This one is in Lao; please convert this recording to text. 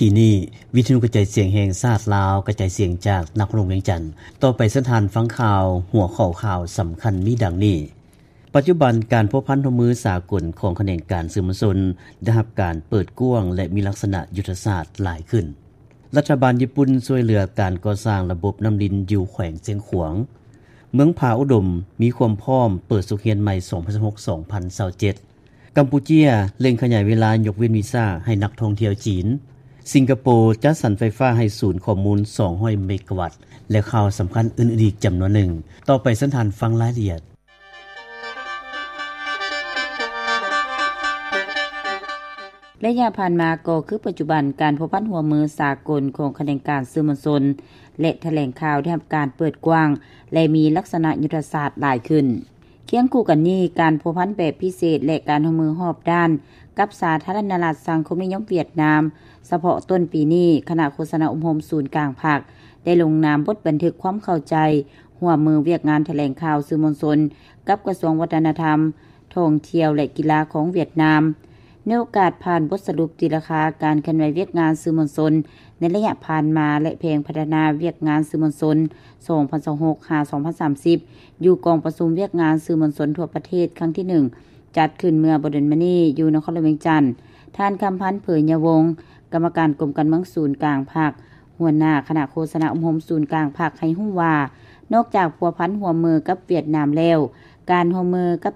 ອີນີ້ ວິທະຍຸກະຈາຍສຽງແຫ່ງຊາດລາວ ກະຈາຍສຽງຈາກນະຄອນຫຼວງວຽງຈັນ. ຕໍ່ໄປເຊີນທ່ານຟັງຂ່າວ, ຫົວຂໍ້ຂ່າວສຳຄັນມີດັ່ງນີ້: ປັດຈຸບັນການພົວພັນຮ່ວມມືສາກົນຂອງຂະແໜງການສື່ມວນຊົນ ໄດ້ຮັບການເປີດກວ້າງ ແລະ ມີລັກສະນະຍຸດທະສາດຫຼາຍຂຶ້ນ. ລັດຖະບານຍີ່ປຸ່ນຊ່ວຍເຫຼືອການກໍ່ສ້າງລະບົບນ້ຳລິນຢູ່ແຂວງຊຽງຂວາງ. ເມືອງຜາອຸດົມມີຄວາມພ້ອມເປີດສົກຮຽນໃໝ່ ສອງພັນຊາວຫົກ ສອງພັນຊາວເຈັດ. ກຳປູເຈຍເລັ່ງຂະຫຍາຍເວລາຍົກເວັ້ນວີຊາໃຫ້ນັກທ່ອງທ່ຽວຈີນ. ສິງກະໂປຈັດສັນໄຟຟ້າໃຫ້ສູນຂໍ້ມູນ ສອງຮ້ອຍເມກາວັດ ແລະ ຂ່າວສຳຄັນອື່ນໆອີກຈຳນວນໜຶ່ງ. ຕໍ່ໄປເຊີນທ່ານຟັງລາຍລະອຽດ. ໄລຍະຜ່ານມາກໍຄືປັດຈຸບັນ ການພົວພັນຮ່ວມມືສາກົນຂອງຂະແໜງການສື່ມວນຊົນ ແລະ ຖະແຫຼງຂ່າວໄດ້ຮັບການເປີດກວ້າງ ແລະ ມີລັກສະນະຍຸດທະສາດຫຼາຍຂຶ້ນ. ຄຽງຄູ່ກັນນີ້, ການພົວພັນແບບພິເສດ ແລະ ການຮ່ວມມືຮອບດ້ານກັບສາທາລະນະລັດສັງຄົມນິຍົມຫວຽດນາມ, ສະເພາະຕົ້ນປີນີ້, ຄະນະໂຄສະນາອົບຮົມສູນກາງພັກ ໄດ້ລົງນາມບົດບັນທຶກຄວາມເຂົ້າໃຈຮ່ວມມືວຽກງານຖະແຫຼງຂ່າວສື່ມວນຊົນ ກັບກະຊວງວັດທະນະທຳ, ທ່ອງທ່ຽວ ແລະ ກິລາຂອງຫວຽດນາມ. ໃນໂອກາດຜ່ານບົດສະຫຼຸບຕີລາຄາການເຄື່ອນໄຫວວຽກງານສື່ມວນຊົນໃນໄລຍະຜ່ານມາ ແລະ ແຜນພັດທະນາວຽກງານສື່ມວນຊົນ ສອງພັນຊາວຫົກ ຫາ ສອງພັນສາມສິບ ຢູ່ກອງປະຊຸມວຽກງານສື່ມວນຊົນທົ່ວປະເທດຄັ້ງທີໜຶ່ງ ຈັດຂຶ້ນເມື່ອບໍ່ດົນມານີ້ຢູ່ນະຄອນຫຼວງວຽງຈັນ, ທ່ານ ຄຳພັນ ເຜີຍຍະວົງ ກຳມະການກົມການເມືອງສູນກາງພັກ, ຫົວໜ້າຄະນະໂຄສະນາອົບຮົມສູນກາງພັກ ໃຫ້ຮູ້ວ່າ, ນອກຈາກພົວພັນຮ່ວມມືກັບຫວຽດນາມແລ້ວ, ການຮ່ວມມືກັບ